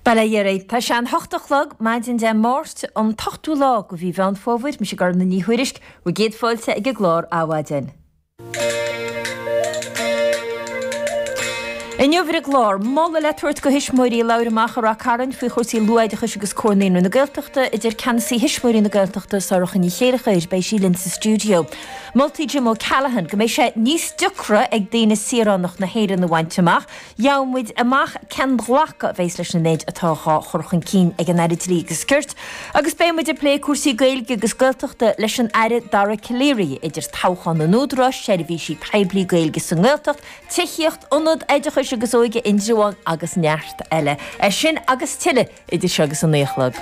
Bail ó Dhia oraibh. Tá sé an hocht a chlog, maidin Dé Máirt, an t-ochtú lá de mhí Mheán Fómhair. Mise Gormfhlaith Ní Thuairisg, bhur gcéad fáilte ag an gclár Adhmhaidin. Inniu ar an gclár, moladh le tabhairt do thuismitheoirí a labhair amach i Rath Cairn faoi chúrsaí luathoideachais agus Comhar Naíonraí na Gaeltachta, a deir ceannasaí Thuismitheoirí na Gaeltachta, Sorcha Ní Chéilleachair. Beidh sí linn sa stiúideo. Moltaí Jim O'Callaghan go mbeidh sé níos deacra ag daoine saoránacht na hÉireann a bhaint amach. Gheobhaidh muid amach cén glacadh a bheas leis an méid atá dhá chur chun cinn ag an Aire Dlí agus Cirt agus beidh muid ag plé cúrsaí Gaeilge agus Gaeltachta leis an Aire Dara Calleary, idir toghchán an Údaráis, seirbhísí poiblí Gaeilge sa nGaeltacht, tithíocht, Ionad Oideachais agus Óige Indreabhán agus neart eile. É sin agus tuilleadh idir seo agus a 9 a chlog.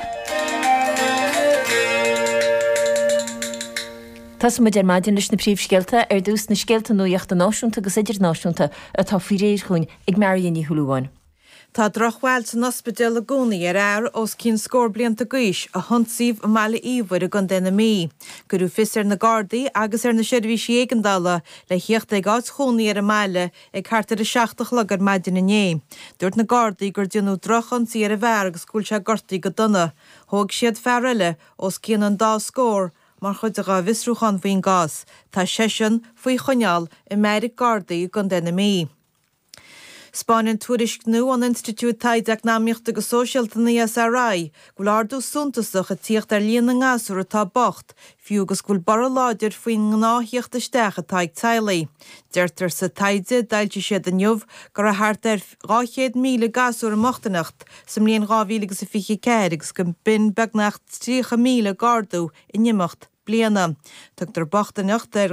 Tosóidh muid ar maidin leis na príomhscéalta. Ar dtús, na scéalta nuachta náisiúnta agus idirnáisiúnta atá faoi réir chugainn ag Marion Ní Shúilleabháin. Tá drochbhail san ospidéal i gcónaí ar fhear os cionn scór blianta d'aois a hionsaíodh i mBaile Íomhair i gContae na Mí. Cuireadh fios ar na Gardaí agus ar na seirbhísí éigeandála le thíocht ag áit chónaí ar an mbaile ag thart ar a 7 a chlog ar maidin inné. Dúirt na Gardaí gur déanadh drochionsaí ar an bhfear agus go bhfuil sé gortaithe go dona. Thóg siad fear eile os cionn an dá scór Mar chuid dá bhfiosrúchán faoin gcás, tá seisean faoi choinneáil i mbeairic Gardaí i gContae na Mí. 'Spáineann tuairisc nua ón Institiúid Taighde Eacnamaíochta agus Sóisialta, an ESRI, go bhfuil ardú suntasach ag tíocht ar líon na ngasúr atá bocht, fiú agus go bhfuil borradh láidir faoin ngnáth-thíocht isteach atá ag teaghlaigh. Deirtear sa taighde a d'fhoilsigh siad inniu go raibh thart ar 200,000 gasúr i mbochtaineacht sa mbliain 2024 agus go b'in beagnach 30,000 d'ardú in imeacht bliana. Tugtar bochtaineacht ar.